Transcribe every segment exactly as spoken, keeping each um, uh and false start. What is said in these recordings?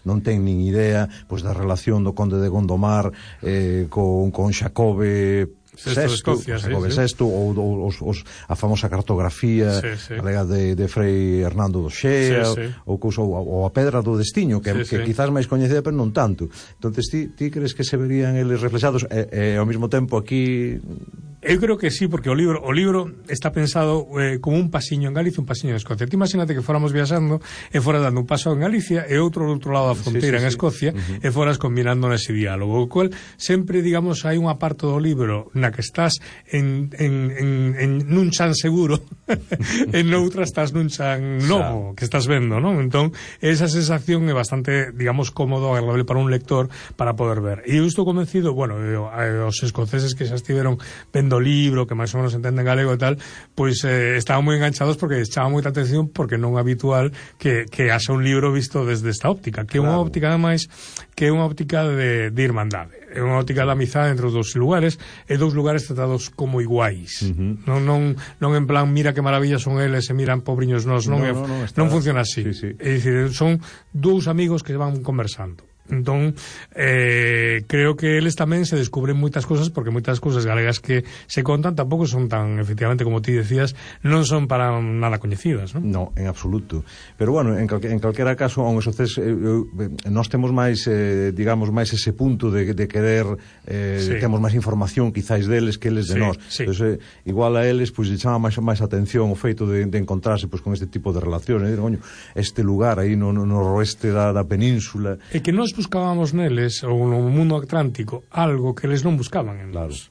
non ten nin idea pois da relación do conde de Gondomar eh, con, con Xacobe Sexto, Escocia, Xacobe sí, Sexto, sí. ou, ou os, os, a famosa cartografía sí, sí. galega de, de Frei Hernando do Xea, sí, sí. ou, ou, ou a Pedra do Destiño, que, sí, que sí. quizás máis coñecida, pero non tanto. Entonces, ti, ti crees que se verían eles reflexados e, e ao mesmo tempo aquí... Eu creo que sí, porque o libro o libro está pensado eh, como un pasiño en Galicia, un pasiño en Escocia. Ti imagínate que fóramos viaxando e fora dando un paso en Galicia e outro do outro lado da fronteira, sí, sí, en Escocia, sí. uh-huh. e foras combinando nese diálogo, o cual sempre, digamos, hai unha parte do libro na que estás en, en, en, en nun chan seguro e noutra estás nun chan novo que estás vendo, non? Entón, esa sensación é bastante, digamos, cómodo, agradable para un lector para poder ver. E eu estou convencido, bueno, eu, os escoceses que xa estiveron vendo o libro, que máis ou menos entenden galego e tal, pois eh, estaban moi enganchados porque chama moita atención, porque non é habitual que, que haxa un libro visto desde esta óptica, que é unha claro. óptica ademais que é unha óptica de, de irmandade, é unha óptica de amizade entre os dous lugares, e dous lugares tratados como iguais, uh-huh. non, non, non en plan mira que maravillas son eles e miran pobriños nós, non, no, é, no, no, está... non funciona así, sí, sí. É dicir, son dous amigos que van conversando. Entón, eh, creo que eles tamén se descubren moitas cousas, porque moitas cousas galegas que se contan tampouco son tan, efectivamente, como ti decías, non son para nada coñecidas, non? No, en absoluto. Pero bueno, en, calque, en calquera caso, aun esos ces, eh, eh, nós temos máis, eh, digamos, máis ese punto de, de querer, eh, sí. temos máis información quizás deles que eles de sí, nós. Sí. Entón, eh, igual a eles, pois, pues, chama máis, máis atención o feito de, de encontrarse pois, pues, con este tipo de relacións. Eh, coño, este lugar aí no, no, no oeste da, da península. E que nós buscábamos neles, ou no mundo atlántico, algo que eles non buscaban en claro. nós.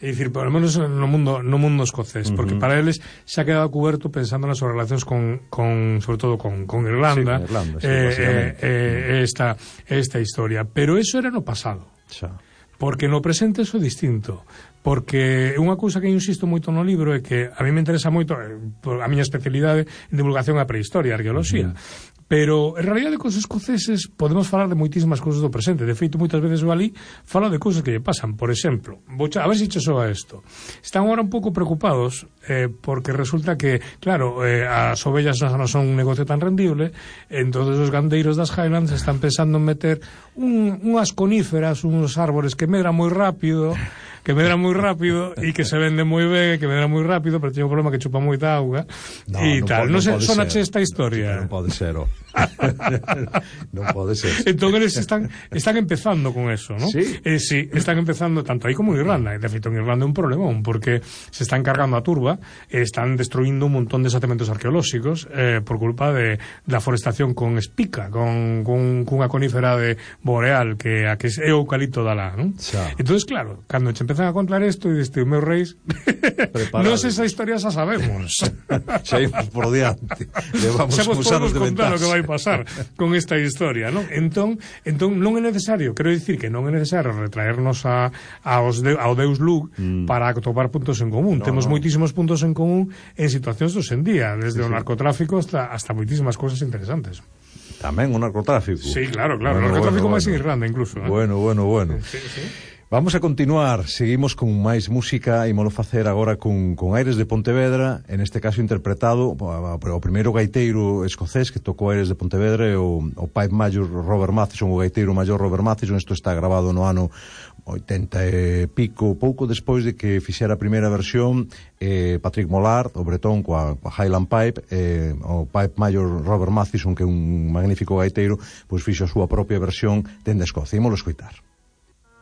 É dicir, por lo menos no mundo no mundo escocés, uh-huh. porque para eles se ha quedado cuberto pensando nas súas relacións con, con sobre todo con, con Irlanda, sí, con Irlanda sí, eh, eh, eh, esta, esta historia. Pero eso era no pasado. Xa. Porque no presente eso é distinto. Porque unha cousa que eu insisto moito no libro é que a mí me interesa moito, a miña especialidade en divulgación a prehistoria, a arqueoloxía, uh-huh. pero en realidade cos escoceses podemos falar de moitísimas cousas do presente. De feito, moitas veces o ali fala de cousas que lle pasan. Por exemplo, vou a ver se che soa isto. Están agora un pouco preocupados eh, porque resulta que, claro, eh, as ovellas non son un negocio tan rendible, entonces os gandeiros das Highlands están pensando en meter un, unhas coníferas, uns árbores que medran moi rápido, que medran moi rápido e que se venden moi ben, que medran moi rápido, pero teñen un problema que chupa moita auga e no, tal. Non, non sei, non sonache esta historia. Non pode ser, oh. Non pode ser. Entón eles están están empezando con eso, ¿no? Sí. Eh, sí, están empezando tanto aí como en Irlanda. De feito, en Irlanda é un problemón porque se están cargando a turba, e están destruindo un montón de xacementos arqueolóxicos eh, por culpa de da forestación con espica, con, con cunha conífera de boreal que a que é o eucalipto da lá, ¿no? Entonces, claro, cando che empezan a contar isto e diste, meus reis, non sei esa historia xa sabemos. Xa imos por diante. Levamos uns anos de contar ventaxa. o que vai pasar con esta historia, non? Entón, entón non é necesario, quero dicir que non é necesario retraernos a, aos de, ao Deus Lug mm. para atopar puntos en común. No, Temos no. moitísimos puntos en común en situacións dos en día, desde sí, o narcotráfico hasta, hasta moitísimas cousas interesantes. Tamén o narcotráfico. Sí, claro, claro. Bueno, o narcotráfico bueno, máis bueno. en Irlanda, incluso. ¿eh? Bueno, bueno, bueno. Sí, sí. Vamos a continuar, seguimos con máis música, ímolo facer agora con, con Aires de Pontevedra, en este caso interpretado o primeiro gaiteiro escocés que tocou Aires de Pontevedra, o, o Pipe Major Robert Mathieson, o gaiteiro maior Robert Mathieson. Isto está grabado no ano oitenta e pico, pouco despois de que fixera a primeira versión eh, Patrick Mollard, o bretón, coa, coa Highland Pipe, eh, o Pipe Major Robert Mathieson, que é un magnífico gaiteiro, pois fixo a súa propia versión dende Escocia. Ímolo escoitar.